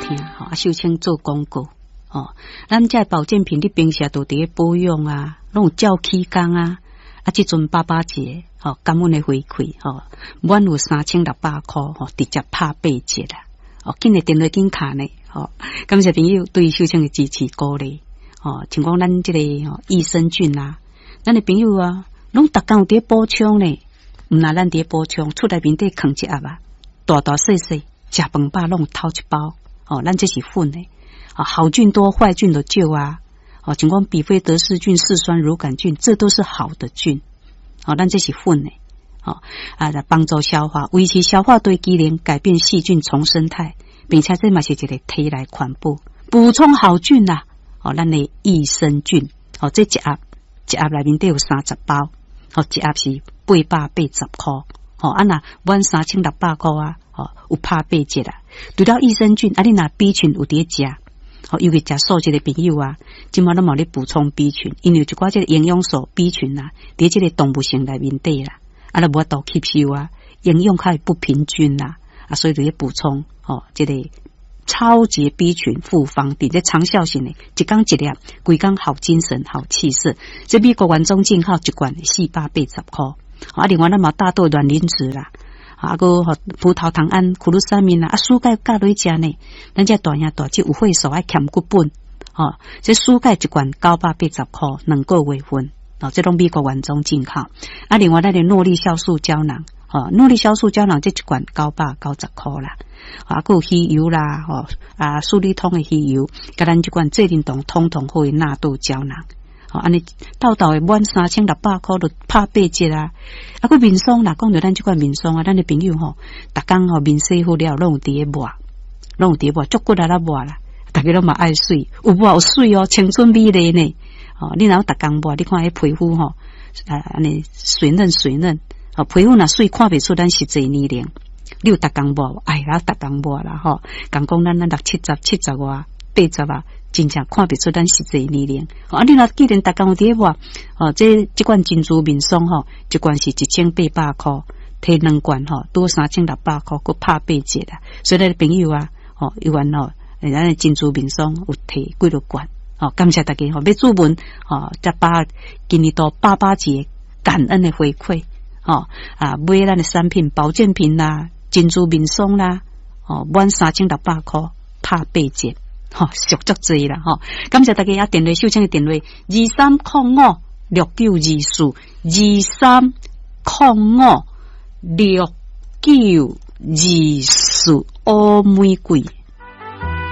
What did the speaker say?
聽，吼，啊，秀清做廣告，吼，咱這保健品你平時都佇咧保養啊，攏有照起工啊，啊，這陣爸爸節，吼，感恩的回饋，吼，滿有3600箍，吼，直接拍八折啦，哦，緊的電話緊卡呢，吼，感謝朋友對秀清的支持鼓勵，吼，像講咱這個益生菌啊，咱的朋友啊，攏逐工有佇咧補充呢，毋若咱佇咧補充，厝內面底囥一盒啊，大大細細，食飯飽攏偷一包，哦，咱這是粉的，啊，好菌多，壞菌就少啊，哦，像講比菲德氏菌、嗜酸乳桿菌，這都是好的菌，哦，咱這是粉的，哦，啊，來幫助消化，維持消化對機能，改變細菌叢生態，並且這嘛是一個體內環保，補充好菌啦，哦，咱的益生菌，哦，這一盒一盒內面底有30包，哦，一盒是880箍，哦，啊若滿3600箍啊，哦，有拍八折啦。除了益生菌，啊，你若 B 群有佇咧食，哦，尤其食素食的朋友啊，這馬攏嘛咧補充 B 群，因為有一寡這個營養素 B 群啊，佇這個動物性內面底啦，啊，都無法度吸收啊，營養較會不平均啦，啊，所以就咧補充，哦，這個超級 B 群複方，佇這長效性的，一工一粒，規工好精神、好氣色。這美國原裝進口一罐480箍。啊，另外咱嘛大豆卵磷脂啦，啊，閣葡萄糖胺、苦魯三明啦，啊，蘇鈣加落去食呢。咱這大兄大姊有會所愛欠骨本，吼，這蘇鈣一罐980箍，2個月份，哦，這攏美國原裝進口。啊，另外咱的諾麗酵素膠囊，吼，諾麗酵素膠囊這一罐990箍啦。啊，閣有魚油啦，吼，啊，舒利通的魚油，佮咱這款濟霖酮通通好的納豆膠囊。吼，按呢沓沓的滿3600箍就拍八折啊！啊，閣面霜啦，講著咱這款面霜啊，咱的朋友吼，逐工吼面洗好了，攏有佇咧抹，攏有佇咧抹，足骨力咧抹啦。逐家攏嘛愛媠，有抹有媠哦，青春美麗呢。吼，你若有逐工抹，你看彼皮膚吼，啊，按呢水嫩水嫩，吼，皮膚若媠看袂出咱實際年齡。你有逐工抹，哎呀，逐工抹啦吼，共講咱咱六七十、七十外、八十啊。真正看袂出咱實際年齡。啊，你若既然逐工有佇咧抹，哦，這這罐珍珠面霜吼，一罐是1800箍，提兩罐吼，拄3600箍，閣拍八折啦。所以咱朋友啊，吼，猶原吼，咱的珍珠面霜有提幾落罐，吼，感謝大家吼，欲注文吼，才把今年度爸爸節感恩的回饋，吼，啊，買咱的產品保健品啦，珍珠面霜啦，吼，滿3600箍拍八折。吼，俗足濟啦，吼！感謝大家啊，電話秀清的電話23056924，23056924，烏玫瑰。